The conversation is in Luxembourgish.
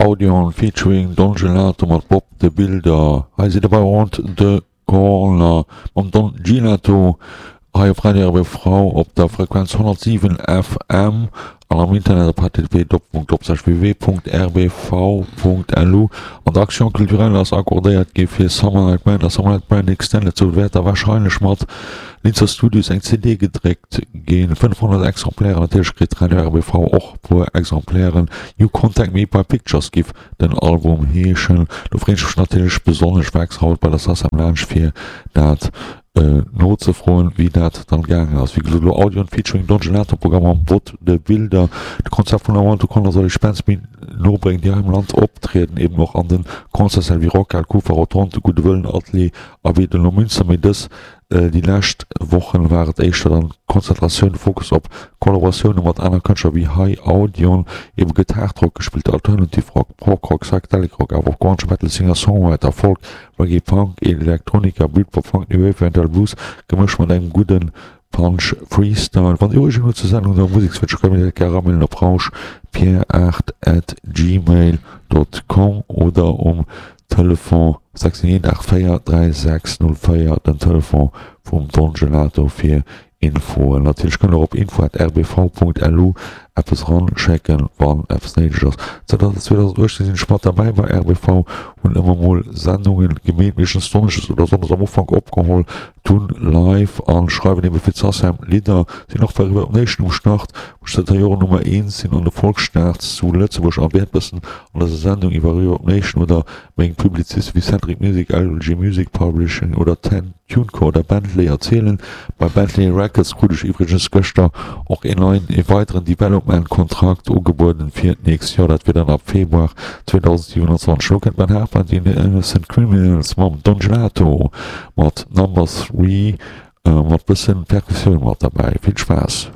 Audion featuring Don Gelato mat Bob de Builder. Hei sidd der bei Round the Corner mam Don Gelato hei op Radio RBV op der Frequenz 107 FM an am Internet op http://www.rbv.lu. An der Action Culturelle ass accordéiert gi fir Summer Night Band a Summer Night Band Extended. Sou wäert da warscheinlech mat Linzer Studios eng CD gedréckt ginn, 500 Exemplairen. Natierlech kritt Radio RBV och puer Exemplairen. You Contact Me By Pictures giff den Album heeschen. Do freen ech mech natierlech besonnesch war extra haut bei der Sacem laanscht fir dat nozefroen wéi dat dann gaangen ass. Wéi gesot elo Audion featuring Don Gelato Programm mam Bot de Bilder. De Konzept vun I Want To Connor soll iech Bands méi no bréngen déi hei am Land optrieden, eben och an den Concertssäll wéi Rockhal, Kufa, Rotonde, Gudde Wëllen, Atelier a wéi den Neumünster. Mee dës Déi lescht Wochen war et éischter dann d'Konzentratioun, de Fokus op Kollaboratioune mat aner Kënschtler wéi hei Audion. Ebe gëtt Hardrock gespillt, Alternative Rock, Prog Rock, Psychedelic Rock, awer och Grunge, Metal, Singer-Songwriter, Folk, Reggae, Punk, Elektronika, Britpop, Funk, New Wave, eventuell Blues, gemëscht mat engem gudde Punch Freestyle. Wann Dir Ureegungen hutt zur Sendung oder Musekswënsch, kënnt Dir dat gär eramailen op rauschpierre8 at gmail dot com oder um Telefon 618 84 36 04, den Telefon vum Don Gelato fir Infoen. Natierlech kënnt der och op info@rbv.lu eppes eran schécken wann eppes néideg ass. Zënter 2018 sinn ech mat derbäi bei rbv, hunn ëmmer mol Sendungen gemeet, meeschtens Donneschdes oder Sonndes am Ufank opgeholl, dunn live an schreiwen ebe fir d'Sacem Lidder, sinn och bei Reverb Nation um Start, wou ech zënter Joren Nummer eent sinn an de Volksstarts zu Lëtzebuerg an wäert bëssen an dëser Sendung iwwer Reverb Nation oder meng Publiziste wéi Centric Music, LG Music Publishing oder Ten TuneCore oder Bentley erzielen. Bei Bentley Records krut ech iwwregens gëschter och een neien, ee weideren Development-Kontrakt ugebueden fir d'nächst Joer. Dat wier dann ab Februar 2027. Elo kënnt Ben Harper an déi Innocent Criminals mam Don Gelato mat Number Three mat bëssen Perkussioun mat derbäi. Vill Spaass!